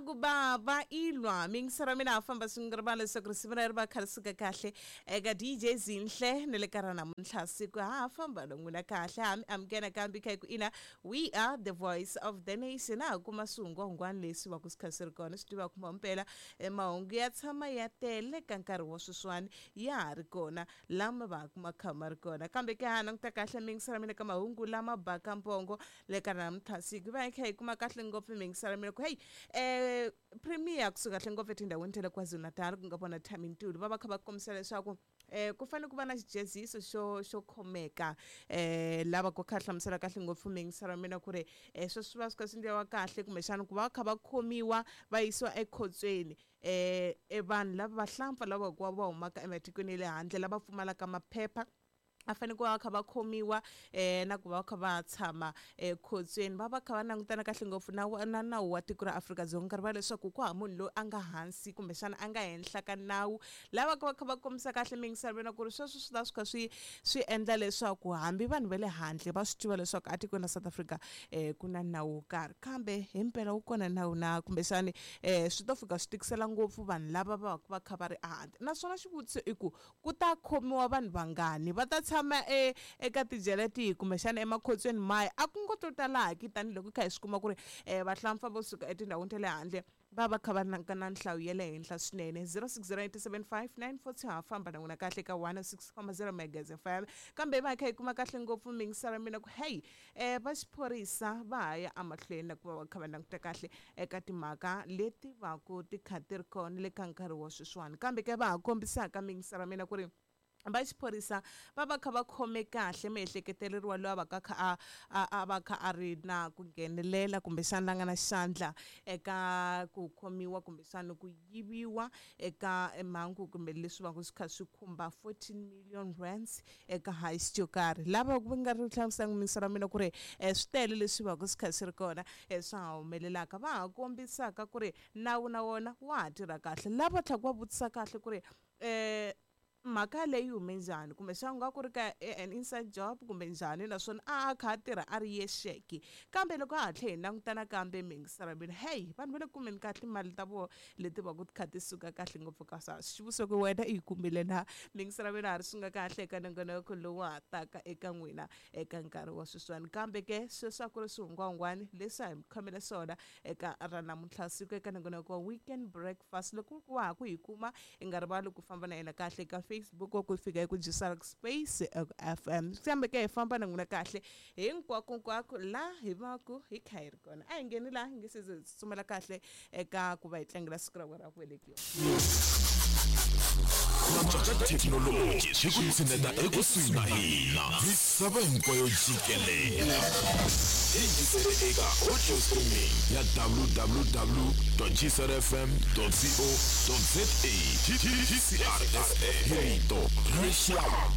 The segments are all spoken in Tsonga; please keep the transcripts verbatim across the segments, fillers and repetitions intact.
Ku baba ilwa mingisara mina famba swi nga rivala leswaku risimu ra ri va kha ri suka kahle eka D J Zinhle ni le ka ra namuntlha siku ha famba na n'wina kahle ha mi amukela kambe kha ku ina we are the voice of the nation. Ha kuma swihungwahungwani leswi va ku swi kha swi ri kona swi tiva kuma mpela mahungu ya tshama ya tele ka nkarhi wa sweswiwani ya ha ri kona lama va kuma kha ma ri kona kambe ke ha languta kahle mingisara mina ka mahungu lama baka mpongo le ka namuntlha siku va hi kha hi kuma kahle ngopfu mingisara mina ku hey eh premier kusuka kahle ngopfu etindhawini ta le KwaZulu-Natal ku nga vona Thami Ntuli va va kha va kombisa leswaku eh ku fanele ku va na xijeziso xo xo khomeka eh lava ku kha hlamusela kahle ngopfu mingisara mina ku ri eh sweswi va swi kha swi endliwa kahle kumbexana ku va kha va khomiwa va yisiwa ekhotsweni eh e vanhu lava vahlampfa lava ku va humaka ematikweni ya le handle lava pfumalaka maphepha a fanele ku va kha va khomiwa eh na ku va kha va tshama ekhotsweni va va kha va langutana kahle ngopfu na na nawu wa tiko ra Afrika-Dzonga nkarhi va leswaku ku hava munhu loyi a nga hansi kumbexana a nga henhla ka nawu lava va kha va kombisa kahle mingiselo mina ku ri sweswo swi ta swi kha swi swi endla leswaku hambi vanhu va le handle va swi tiva leswaku etikweni ra South Africa eh ku na nawu wo karhi kambe himpela wu kona nawu na kumbexani eh swi to fika swi tikisela ngopfu vanhu lava va va kha va ri ehandle naswona xivutiso i ku ku ta khomiwa vanhu vangani va ta tshama e eka tijele tihi kumbexana emakhotsweni maya a ku ngo to talaki tanihiloko kha hi swi kuma ku ri um vahlampfa vo suka etindhawini ta le handle va va kha va na na nhlayo ya le henhla swinene zero six zero eight seven five nine four two ha famba na n'wina kahle ka one six comma zero megas F M kambe va kha hi kuma kahle ngopfu mingisara mina ku hey um va xiphorisa va ha ya emahlweni na ku va va kha va languta kahle eka timhaka leti va ku ti kha ti ri kona le ka nkarhi wa sweswiwani kambe ke va ha kombisaka mingisara mina ku ri va xiphorisa va va kha va khome kahle miehleketeleriwa loyi a va ka kha a a va kha a ri na ku nghenelela kumbexana la nga na xandla eka ku khomiwa kumbexana ku yiviwa eka mhangu kumbe leswi va ku swi kha swi khumba fourteen million rands eka heist yo karhi lava ku nga ri hlamuselanga mingiselo ra mina ku ri swi tele leswi va ku swi kha swi ri kona swa ha humelelaka va ha kombisaka ku ri nawu na wona wa ha tirha kahle lava tlhaka va vutisa kahle ku ri um mhaka leyi hume njhani kumbexana ku nga ku ri ka an inside job kumbe njhani naswona a a kha a tirha a ri yexeke kambe loko a ha tlhe hi langutana kambe mingisara mina hey vanhu va le kumeni kahle mali ta vona leti va ku ti kha ti suka kahle ngopfu ka swa xivutiso ku wena i yi kumile na mingisara mina ha ri swi nga kahle eka nongonoko lowu ha taka eka n'wina eka nkarhi wa sweswiwani kambe ke sweswi a ku ri swihungwahungwani leswi a hi mi khomele swona eka ra namuntlha siku eka nongonoko wa weekend breakfast loko ku wa ha ku hi kuma i nga rivali ku famba na yena kahle eka Facebook ku fika eku Jisark Space F M kambe ke hi famba na n'wina kahle hinkwako nkwako la hi va ku hi kha hi ri kona a hi ngheni laha hi nge se ze tsutsumela kahle eka ku va hi tlangela siku ra ra ku velekiwa thekinoloji swi ku tshineta ekusuhi na hina misava hinkwayo jikelele yingisele eka audio streaming ya w w w dot g c r f m dot co dot z a G C R F M rito rixaka.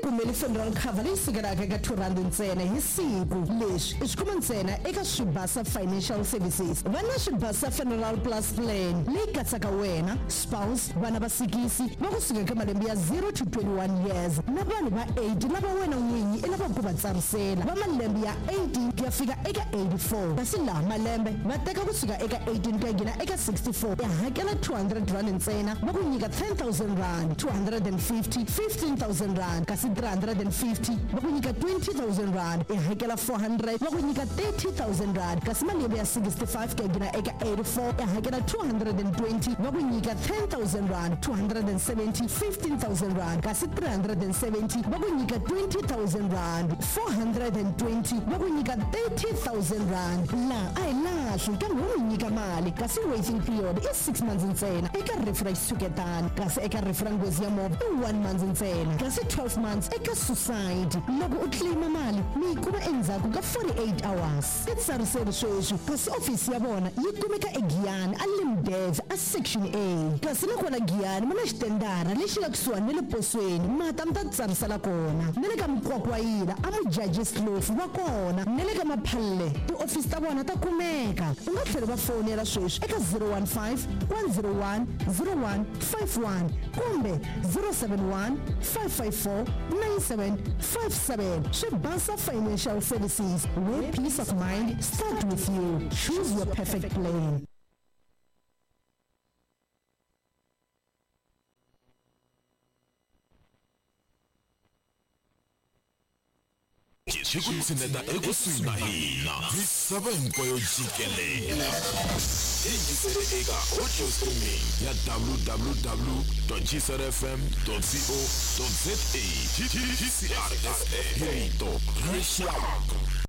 Kumele funeral cover leyi sukelaka eka two rand ntsena hi siku leswi i swi kuma ntsena eka Swibasa Financial Services va na Swibasa Funeral Plus Plan leyi katsaka wena spouse vana va sikisi va kusuka eka malembe ya zero to twenty-one years na vanhu va eight lava wena n'winyi i lavaka ku va tsarisela va malembe ya eighteen ku ya fika eka eighty-four kasi laha malembe va teka kusuka eka eighteen ku ya nghena eka sixty-four ya hakela two hundred rand ntsena va ku nyika ten thousand rand two hundred and fifty fifteen thousand rand kasi three hundred and fifty va ku nyika twenty thousand rand i hakela four hundred va ku nyika thirty thousand rand kasi malembe ya sixty-five ku ya nghena eka eighty-four i hakela two hundred and twenty va ku nyika ten thousand rand two hundred and seventy fifteen thousand rand kasi three hundred and seventy va ku nyika twenty thousand rand four hundred and twenty va ku nyika thirty thousand rand la a hi lahli kambe wo mi nyika mali kasi waiting period i six months ntsena eka rifu ra xitshuketana kasi eka rifu ra nghozi ya movha i one month ntsena kasi twelve months eka suicide loko u claima mali mi yi kuma endzhaku ka forty-eight hours i tsariseri sweswi kasi ofisi ya vona yi kumeka eGiyani a Limdev a section A kasi nakona Giyani mi na xitendara lexi nga kusuhani na le posweni mata mi ta tsarisela kona na le ka Mkwakwayila a Mujajis Slofu va kona na le ka Maphalle tiofisi ta vona ta kumeka laveka. U nga tlhela va fonela sweswi eka zero one five, one zero one, zero one five one kumbe zero seven one, five five four, nine seven five seven. Swibasa Financial Services, where peace of mind start with you. Choose your perfect plan. Hi ku tshineta ekusuhi na hina, misava hinkwayo jikelele. Yingisele eka audio streaming ya w w w dot g c r f m dot co dot z a. G C R F M, hi rito ra rixaka.